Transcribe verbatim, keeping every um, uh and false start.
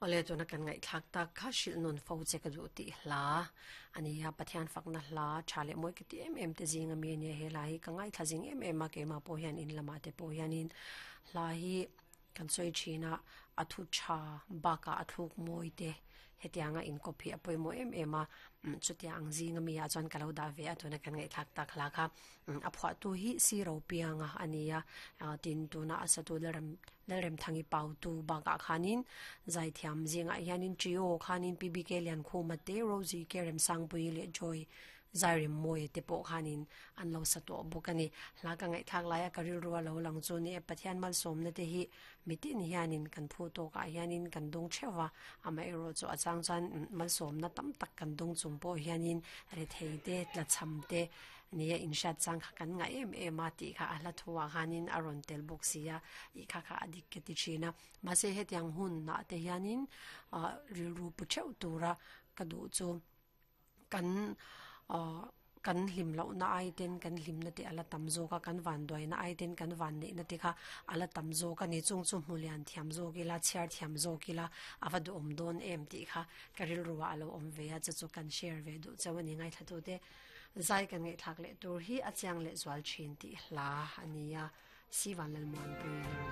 Ole tuna kan ngai thak tak kha shil nun fo che ka du ti hla ania Pathian fakna hla thale moi ki ti em em te zinga mi ne he lai ka ngai tha jing em em ma ke ma po hian in lama te po hian in hla hi kan soi thina athu tha baka athuk moi te hetianga in copy apoi mo em em a chutia ang zinga mi a chuan kalo da ve a tuna kan ngai thak tak hla kha a phwa tu hi si ro pianga ania tin tuna asatu lalrem lalrem thangi pau tu baka khanin zai thiam zinga hianin trio khanin P B K lian khuma te Rosie Kerem Sangpui le Joy zairim moi te po khanin an lo sa to bukani hla ka ngai thak laia karil ruwa lo lang chu ni Pathian mal som na te hi mitin hianin kan phu to ka hianin kan dong chewa ama ero chu achang chan mal som na tam tak kan dong chung po hianin re thei te tla cham te nia in shat chang kha kan nga em em a ti kha ala thuwa khanin aron tel bok sia i kha kha adik ke ti china ma se he tiang hun na te hianin ril ru pu cheu tura ka du chu kan kan hlim lo na ai ten kan hlim na te ala tam zo ka kan van doi na ai ten kan van nei na te kha ala tam zo ka ni chung chu hmulian thiam zo ki la chhiar thiam zo ki la awa du om don em ti kha karil ruwa alo om ve a chu chu kan share ve du chawani ngai thatu te zai kan ngai thak le tur hi achiang le zwal thin ti hla ania si van lal mon pui.